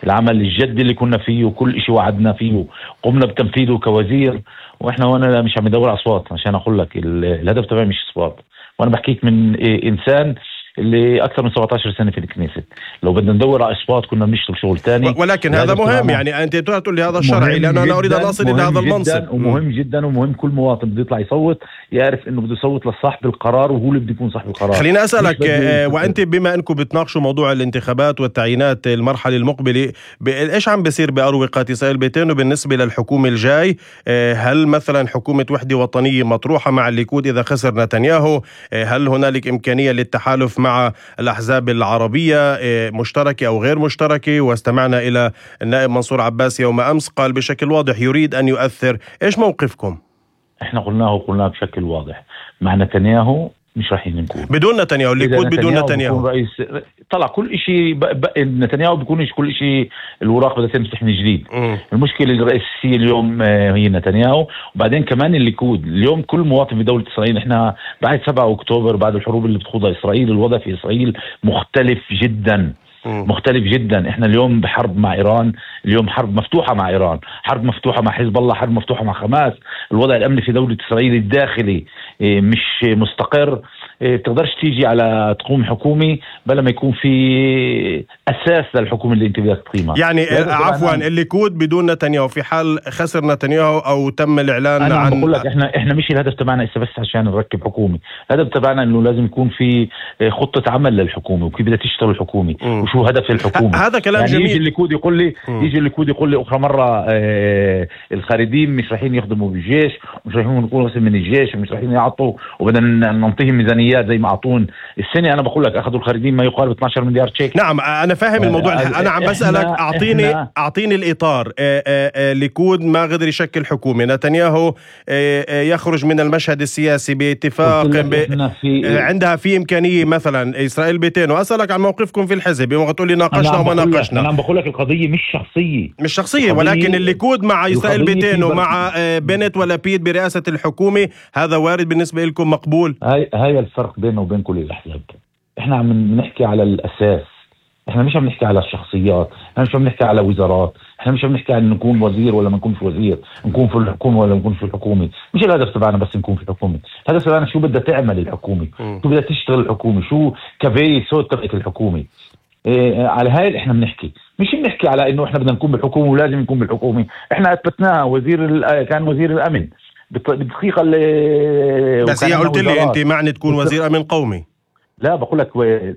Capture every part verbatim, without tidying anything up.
العمل الجدي اللي كنا فيه وكل إشي وعدنا فيه قمنا بتنفيذه كوزير. واحنا وانا مش عم ندور اصوات عشان اقول لك الهدف تبعي مش اصوات، وانا بحكيك من انسان اللي اكثر من سبعة عشر سنه في الكنيسه. لو بدنا ندور على اصوات كنا بنشتغل شغل ثاني، ولكن هذا مهم. يعني انت تقول لي هذا الشرعي لانه انا اريد ان اصل الى هذا المنصب. ومهم جدا ومهم كل مواطن بده يطلع يصوت يعرف انه بده يصوت لصاحب القرار وهو اللي بده يكون صاحب القرار. خليني اسالك آه وانت بما انكم بتناقشوا موضوع الانتخابات والتعيينات المرحله المقبله، ايش عم بيصير باروقه اسرائيل بيتين وبالنسبه للحكومه الجاي؟ آه هل مثلا حكومه وحده وطنيه مطروحه مع الليكود اذا خسر نتنياهو؟ آه هل هنالك امكانيه للتحالف مع الأحزاب العربية مشتركة أو غير مشتركة؟ واستمعنا إلى النائب منصور عباس يوم أمس قال بشكل واضح يريد أن يؤثر. إيش موقفكم؟ إحنا قلناه وقلناه بشكل واضح، مع نتنياهو مش راح نكون بدون نتنياهو. الليكود بدون نتنياهو رئيس طلع كل شيء. نتنياهو بيكونش كل شيء، الوراق بدها تمسح من جديد. م. المشكله الرئيسيه اليوم هي نتنياهو، وبعدين كمان الليكود. اليوم كل مواطن في دوله اسرائيل، احنا بعد سبعة أكتوبر بعد الحروب اللي بتخوضها اسرائيل، الوضع في اسرائيل مختلف جدا. م. مختلف جدا. احنا اليوم بحرب مع ايران، اليوم حرب مفتوحه مع ايران، حرب مفتوحه مع حزب الله، حرب مفتوحه مع حماس. الوضع الامني في دوله اسرائيل الداخلي مش مستقر. بتقدرش تيجي على تقوم حكومة بلا ما يكون في أساس للحكومة اللي انت بدك تقيمها. يعني عفوا الليكود بدون نتنياهو في حال خسر نتنياهو أو تم الإعلان أنا عن... أنا بقول لك إحنا إحنا مش الهدف تبعنا إسا بس عشان نركب حكومة. الهدف تبعنا إنه لازم يكون في خطة عمل للحكومة وكيف بدها تشتغل الحكومة م. وشو هدف الحكومة. هذا كلام يعني جميل. يجي الليكود يقول لي م. يجي الليكود يقول لي أخرى مرة آه الخارجين مش رايحين يخدموا بالجيش ومش رايحين يكونوا بس من الجيش ومش رايحين يعطوا وبدنا ننطيهم ميزانيات زي ما أعطون السنة. أنا بقول لك أخذوا الخارجين ما يقارب اثني عشر مليار شيك. نعم أنا فاهم الموضوع. أنا عم بسألك أعطيني أعطيني الإطار. ليكود ما قدر يشكل حكومة، نتنياهو يخرج من المشهد السياسي باتفاق ب... في... عندها في إمكانية مثلا إسرائيل بيتين. وأسألك عن موقفكم في الحزب يوم تقول لي ناقشنا وما ناقشنا. أنا بقول لك القضية مش شخصية مش شخصية ولكن الليكود مع إسرائيل بيتين ومع بنت ولابيد برئاسة الحكومة، هذا وارد بالنسبة لكم مقبول؟ هاي هاي الفرق بينه وبين كل الأحزاب. احنا عم نحكي على الأساس، احنا مش عم نحكي على الشخصيات، احنا مش عم نحكي على وزارات، احنا مش عم نحكي عن نكون وزير ولا ما نكونش وزير، نكون في الحكومة ولا ما نكون في الحكومة. مش الهدف تبعنا بس نكون في الحكومة. الهدف تبعنا شو بدها تعمل الحكومة، شو بدها تشتغل الحكومة، شو كفاية صوت تبعت الحكومة. إيه على هاي احنا بنحكي، مش بنحكي على انه احنا بدنا نكون بالحكومة ولازم نكون بالحكومة. احنا اثبتناه. وزير كان وزير الامن بالدقيقة اللي بس هي قلت لي انت معني تكون وزير امن قومي. لا بقول لك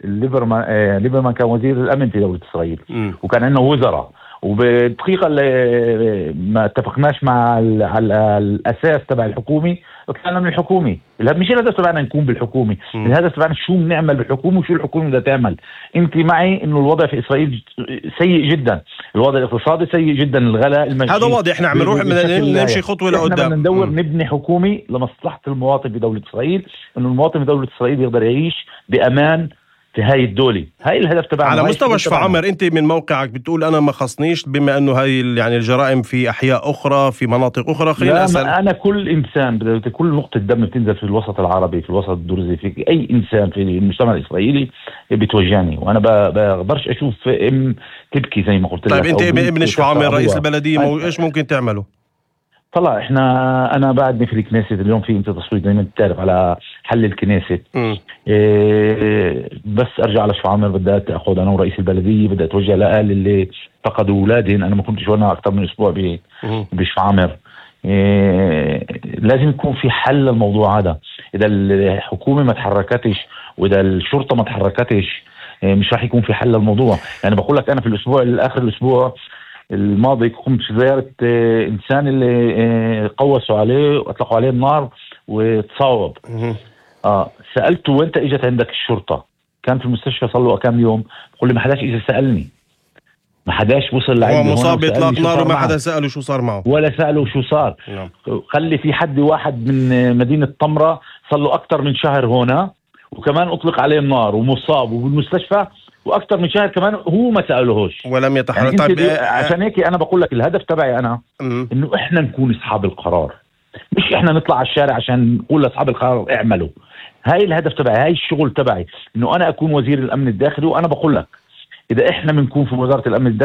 ليبرمان آه ليبرمان كان وزير الامن في دوله اسرائيل م. وكان عندنا وزراء. وبالدقيقه اللي ما اتفقناش مع على الاساس تبع الحكومه طلعنا من الحكومه. مش الهدف تبعنا نكون بالحكومه، م. الهدف تبعنا شو بنعمل بالحكومه وشو الحكومه بدها تعمل. انت معي انه الوضع في اسرائيل سيء جدا، الوضع الاقتصادي سيء جدا، الغلاء المجيد. هذا واضح. احنا عم نروح نمشي خطوه لقدام. احنا بدنا ندور م. نبني حكومه لمصلحه المواطن في دوله اسرائيل، انه المواطن في دوله اسرائيل يقدر يعيش بامان في هاي الدولة. هاي الهدف تبعنا. على مستوى شفا عمر، انت من موقعك بتقول انا ما خصنيش بما انه هاي يعني الجرائم في احياء اخرى في مناطق اخرى. خلينا اسال انا كل انسان كل نقطة دم بتنزل في الوسط العربي في الوسط الدرزي في اي انسان في المجتمع الاسرائيلي بتوجعني، وانا بقدرش اشوف ام تبكي زي ما قلت لك. طيب انت ابن شفا عمر رئيس البلدية مو... ايش ممكن تعملوا؟ طلع احنا انا بعدني في الكنيسة اليوم في انت تصويت زي ما انت تعرف على حل الكنيسة. إيه بس ارجع على شفا عمر بدي اخذ انا ورئيس البلدية بدي اتوجه لاهل اللي فقدوا اولادهم. انا ما كنتش وانا اكثر من اسبوع بشفا عمر. إيه لازم يكون في حل للموضوع هذا. اذا الحكومة ما تحركتش واذا الشرطة ما تحركتش إيه مش راح يكون في حل للموضوع. يعني بقول لك انا في الاسبوع الاخر الاسبوع الماضي قمت في زيارة إنسان اللي قوسوا عليه وأطلقوا عليه النار وتصاوب. آه سألته وانت اجت عندك الشرطة؟ كان في المستشفى صار له كم يوم. بقول لي ما حداش اجى سألني، ما حداش وصل لعندي. هو مصاب بإطلاق نار وما حدا سأله شو صار معه ولا سأله شو صار. نعم. خلي في حد واحد من مدينة طمرة صار له أكتر من شهر هنا وكمان أطلق عليه النار ومصاب وبالمستشفى واكثر من شهر كمان هو ما سالوهوش ولم يتحرك. يعني طيب عشان هيك انا بقول لك الهدف تبعي انا م- انه احنا نكون اصحاب القرار، مش احنا نطلع على الشارع عشان نقول لاصحاب القرار اعملوا. هاي الهدف تبعي، هاي الشغل تبعي، انه انا اكون وزير الامن الداخلي. وانا بقول لك اذا احنا بنكون في وزاره الامن